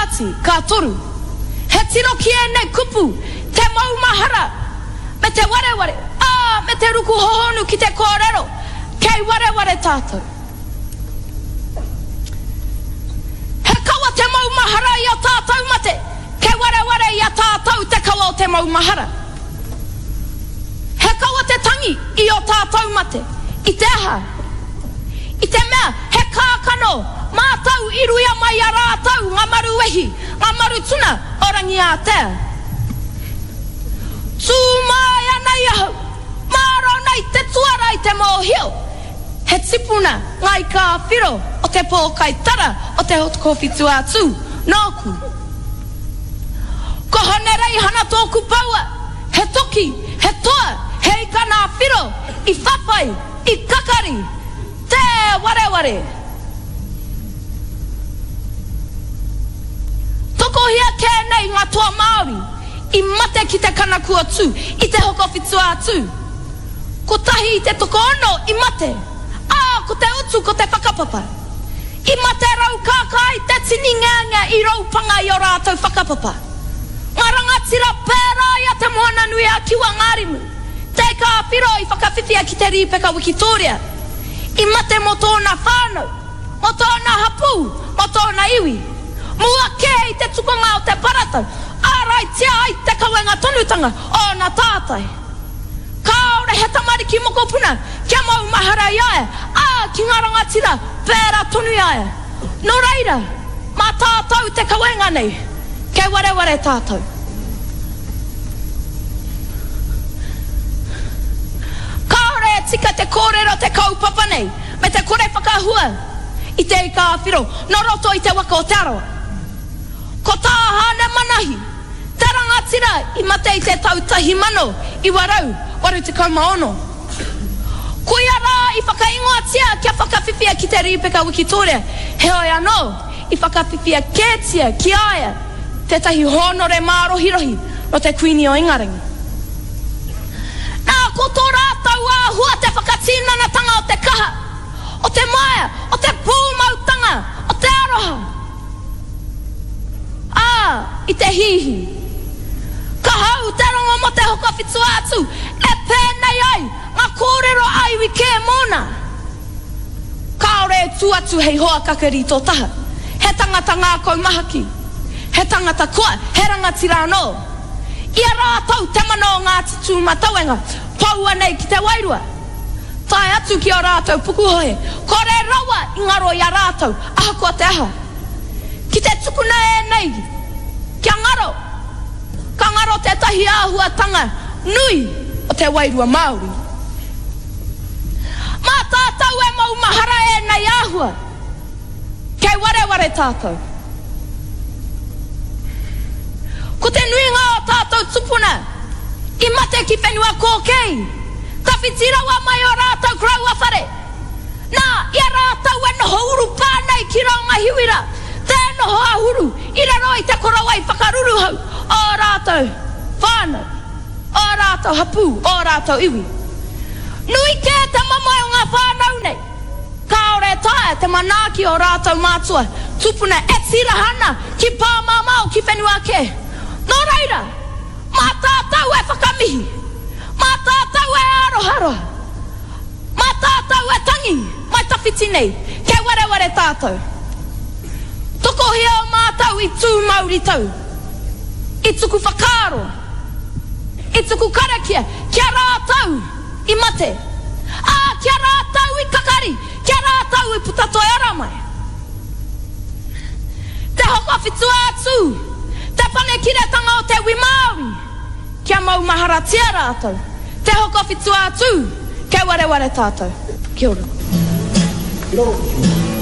Kāti, ka toru. He tiro ki ēnei kupu, te maumahara, me te wareware, ā, me te ruku hohonu ki te kōrero, kei wareware tātou. He kawa te maumahara i ō tātou mate, kei wareware i a tātou te kawa o te maumahara. He kawa te tangi i ō tātou mate, i te aha? I te mea he kākano mātou i ruia mai i a rātou ngā maru wehi, ngā maru tuna o Rangiātea. Tū mai ana i ahau, mārō nei te tuara i te mōhio, he tipuna ngā ika ā-whiro o te pōkai tara o te Hokowhitu-ā-Tū, nōku. Ko Hone Reihana tōku paua, he toki, he toa, he ika nā Whiro, i whawhai, i kakari, tē wareware. Tokohia kē nei ngā toa Māori i mate ki te kanaku-o-Tū, i te Hokowhitu-ā-Tū. Kotahi i te tokoono i mate, ā, ko te utu ko te whakapapa. I mate raukākā ai te tini ngeangea i roupanga i ō rātou whakapapa. Ngā rangatira pērā i a Te Moananui-a-Kiwa Ngārimu, Te Ika-a-Whiro i whakawhiwhia ki te Rīpeka Wikitōria, i mate mō tōna whānau, mō tōna hapū, mō tōna iwi. Mua kē i te tukunga o te paratau, āraitia ai te kawenga tonutanga o ōna tātai. Kāore he tamariki mokopuna kia maumahara i a ia, ā, ki ngā rangatira, pērā tonu i a ia. Nō reira, mā tātou te kawenga nei, kei wareware tātou. Kāore e tika te kōrero te kaupapa nei me te kore whakahua i te ika-a-whiro nō roto i te waka o Te Arawa. Ko tā Hāne Manahi, Te rangatira i mate i te tau 1986. Koia rā i whakaingoatia kia whakawhiwhia ki te Rīpeka Wikitōria, heoi anō, i whakawhiwhia kētia ki a ia tētahi hōnore mārohirohi nō te Kuini o Ingarangi. Nā, ko tō rātou āhua te whakatinanatanga o te kaha, o te maea, o te pūmautanga, o te aroha. Ā, i te hihi. Ka hau te rongo mō te Hokowhitu-a-Tū, e pēnei ai ngā kōrero a iwi kē mōna. Kāore e tū atu hei hoa kakari tō taha. He tangata ngākau mahaki, he tangata koa, he rangatira anō. I a rātou te mana o Ngāti Tūmatauenga, poua nei ki te wairua. Tae atu ki ō rātou pukuhohe, kore rawa i ngaro i a rātou, ahakoa te aha. Ki te tukuna ēnei kia ngaro, ka ngaro tētahi āhuatanga nui o te wairua Māori. Mā tātou e maumahara ēnei āhua, kei wareware tātou. Ko te nuinga o tātou tupuna i mate ki whenua kōkēi, tawhiti rawa mai o rātou koroua whare. Nā, i a rātou e noho urupā nei ki Raungahiwira, tē noho āhuru i raro i te korowai whakaruruhau o ō rātou whānau, o ō rātou hapū, o ō rātou iwi. Nui kē te mamae o ngā whānau nei. Kāore e taea te manaaki o rātou mātua tupuna e tīraha ana ki pāmamao ki whenua kē. Nō reira, mā tātou e whakamihi, mā tātou e āroharoha, mā tātou e tangi mai tawhiti nei, kei wareware tātou. Tokohia o mātou i tū mauritau, i tuku whakaaro, i tuku karakia ki a rātou i mate, ā, ki a rātou i kakari, ki a rātou i puta toi ara mai. Te Hokowhitu-ā-Tū, te panekiretanga o te wi Māori, kia maumaharatia rātou. Te Hokowhitu-ā-Tū, kei wareware tātou. Kia ora. Kia ora.